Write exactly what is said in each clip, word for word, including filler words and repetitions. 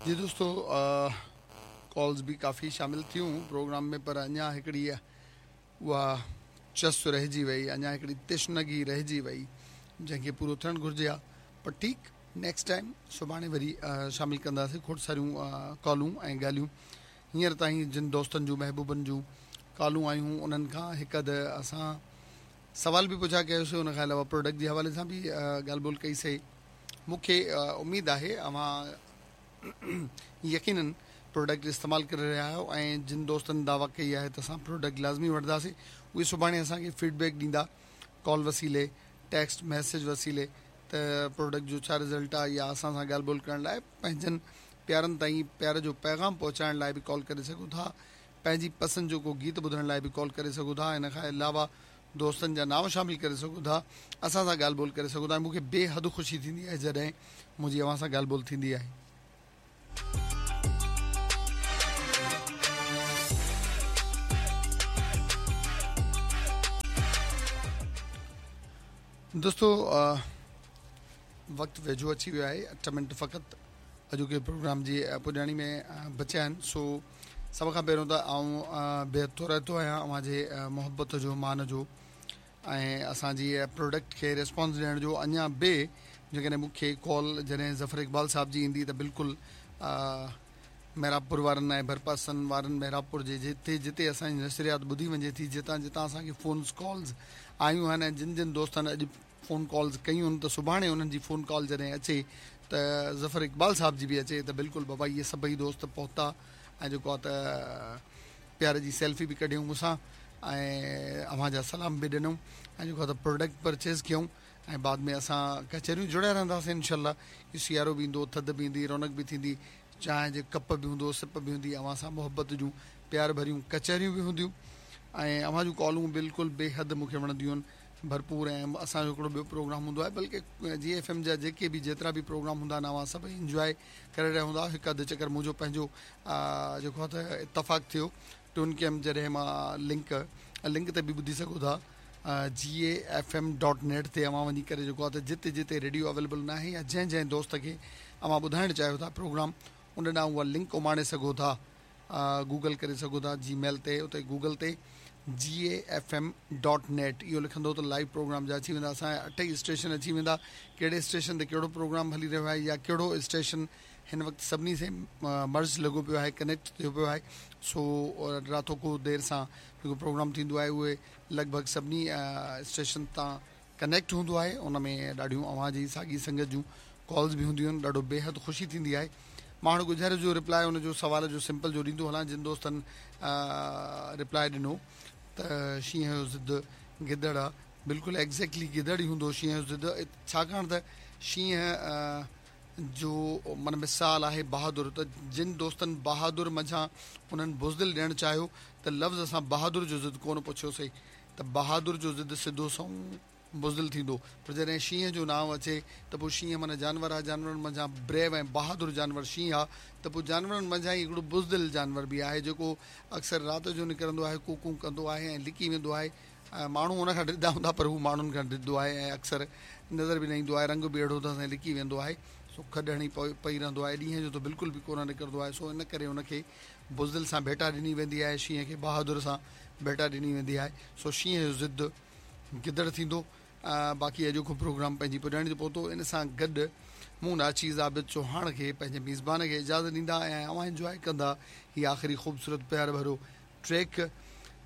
जी दोस्तों, कॉल्स बि काफ़ी शामिल थियूं प्रोग्राम में, पर अञा हिकिड़ी उहा चस रहिजी वई, अञा हिकिड़ी तिश्नगी रहिजी वई जंहिंखे पूरो थियणु घुरिजे हा। पर ठीकु, नेक्स्ट टाइम सुभाणे वरी शामिल कंदासीं खोड़ सारियूं कॉलूं ऐं ॻाल्हियूं। हींअर ताईं जिन दोस्तनि जूं महबूबनि जूं कॉलूं आयूं उन्हनि खां हिकु अधु असां सवाल बि पुछा कयोसीं, उन खां अलावा प्रोडक्ट जे हवाले सां बि ॻाल्हि ॿोल कईसीं। मूंखे उमेद आहे अव्हां यकीनन प्रोडक्ट इस्तेमालु करे रहिया आहियो ऐं जिन दोस्तनि दावा कई आहे त असां प्रोडक्ट लाज़मी वठंदासीं, उहे सुभाणे असांखे फीडबैक ॾींदा कॉल वसीले, टेक्स्ट मैसेज वसीले त प्रोडक्ट जो छा रिज़ल्ट आहे, या असां सां ॻाल्हि ॿोल करण लाइ पंहिंजनि प्यारनि ताईं प्यार जो पैगाम पहुचाइण लाइ बि कॉल करे सघो था, पंहिंजी पसंदि जो को गीत ॿुधण लाइ बि कॉल करे सघो था, इन खां अलावा दोस्तनि जा नाम शामिल करे सघो था, असां सां ॻाल्हि ॿोल करे सघो था। मूंखे बेहद ख़ुशी थींदी आहे जॾहिं मुंहिंजी अव्हां सां ॻाल्हि ॿोल थींदी आहे। दोस्तों, वक़्तु वेझो अची वियो आहे, अठ मिंट फ़क़ति अॼोके प्रोग्राम जी पुॼाणी में बचिया आहिनि। सो सभ खां पहिरियों त आउं बेहद थोराइतो आहियां अव्हांजे मोहबत जो, मान जो ऐं असांजी प्रोडक्ट खे रिस्पॉन्स ॾियण जो। अञा बि जेकॾहिं मूंखे कॉल जॾहिं ज़फ़र इक़बाल साहब जी ईंदी त बिल्कुलु मेहराबपुर वारनि ऐं भरपासनि वारनि मेहराबपुर जे जिते जिते असांजी नशरियात ॿुधी वञे थी, जितां जितां असांखे फ़ोन कॉल्स आयूं आहिनि ऐं जिन जिन दोस्तनि अॼु फ़ोन कॉल्स कयूं आहिनि त सुभाणे उन्हनि जी फ़ोन कॉल जॾहिं अचे त ज़फ़र इक़बाल साहब जी बि अचे त बिल्कुलु बाबा इहे सभई दोस्त पहुता ऐं जेको आहे त प्यार जी सेल्फी बि कढियऊं मूंसां ऐं अव्हां जा सलाम बि ॾिनऊं ऐं जेको आहे त प्रोडक्ट परचेज़ कयूं ऐं बाद में असां कचहरियूं जुड़िया रहंदासीं इनशा। सियारो बि ईंदो, थधि बि ईंदी, रौनक बि थींदी, चांहि जे कप बि हूंदो, सिप बि हूंदी, अव्हां सां मोहबत जूं प्यार भरियूं कचहरियूं बि हूंदियूं ऐं अव्हां जूं कॉलूं बिल्कुलु बेहद मूंखे वणंदियूं आहिनि भरपूर। ऐं असांजो हिकिड़ो ॿियो प्रोग्राम हूंदो आहे, बल्कि जी एफ एम जा जेके बि जेतिरा बि प्रोग्राम हूंदा आहिनि अव्हां सभई इंजॉय करे रहिया हूंदा। हिकु अधु चकर मुंहिंजो पंहिंजो जेको आहे त इतफ़ाक़ु थियो टून कयमि, जॾहिं मां लिंक लिंक ते बि ॿुधी सघो था G A F M dot net ते अव्हां वञी करे जेको आहे त जिते जिते रेडियो अवेलेबल न आहे या जंहिं जंहिं दोस्त खे अव्हां ॿुधाइणु चाहियो था प्रोग्राम, उन ॾांहुं उहा लिंक उमाणे सघो था, गूगल करे सघो था जी मेल ते, उते गूगल ते G A F M dot net इहो लिखंदो त लाइव प्रोग्राम जा अची वेंदा, असांजा अठ ई स्टेशन अची वेंदा, कहिड़े स्टेशन ते कहिड़ो प्रोग्राम हली रहियो आहे या कहिड़ो स्टेशन हिन वक़्तु सभिनी से मर्ज लॻो पियो आहे, कनेक्ट थियो पियो आहे। सो रातो को देरि सां जेको प्रोग्राम थींदो आहे उहे लॻभॻि सभिनी स्टेशन तां कनेक्ट हूंदो आहे, उन में ॾाढियूं अव्हां जी साॻी संगत जूं कॉल्स बि हूंदियूं आहिनि, ॾाढो बेहद ख़ुशी थींदी आहे। मां गुज़ारे जो रिप्लाई उनजो सवाल जो सिंपल जो ॾींदो हलां, जिन दोस्तनि रिप्लाई ॾिनो त शींहं जो ज़िद गिदड़ आहे, बिल्कुलु एग्ज़ैक्टली गिदड़ ई हूंदो शींहं जो ज़िद, छाकाणि त शींहं जो माना मिसाल आहे बहादुर, त जिन दोस्तनि बहादुर मंझां उन्हनि बुज़दिल ॾियणु चाहियो त लफ़्ज़ असां बहादुर जो ज़िद कोन पुछियोसीं, त बहादुर जो ज़िद सिधो सऊं बुज़दिल थींदो। पर जॾहिं शींहं जो नांव अचे त पोइ शींहं माना जानवर आहे, जानवरनि मंझां ब्रेव ऐं बहादुर जानवर शींहं आहे, त पोइ जानवरनि मंझां ई हिकिड़ो बुज़दिल जानवर बि आहे जेको अक्सर राति जो निकिरंदो आहे, कूकूं कंदो आहे ऐं लिकी वेंदो आहे। माण्हू हुन खां ॾिढा हूंदा पर हू माण्हुनि खां ॾिढो आहे ऐं अक्सर नज़र बि न ईंदो आहे, रंग बि अहिड़ो अथसि ऐं लिकी वेंदो आहे, सो खॾ हणी पई रहंदो आहे, ॾींहं जो त बिल्कुलु बि कोन निकिरंदो आहे। सो इन करे हुनखे बुज़दिल सां भेटा ॾिनी वेंदी आहे, शींहं खे बहादुर सां भेटा ॾिनी वेंदी आहे। सो शींहं जो ज़िद गिदड़ थींदो। बाक़ी अॼोको प्रोग्राम पंहिंजी पुॼाणी ते पहुतो, इन सां गॾु मूं नाचीज़ आबिद चौहान खे पंहिंजे मेज़बान खे इजाज़त ॾींदा ऐं अव्हां इंजॉय कंदा हीअ आख़िरी ख़ूबसूरत प्यार भरो ट्रैक।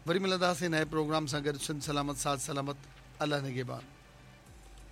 वरी मिलंदासीं नए प्रोग्राम सां गॾु। सिंध सलामत, साथ सलामत, अलाह निगहबान।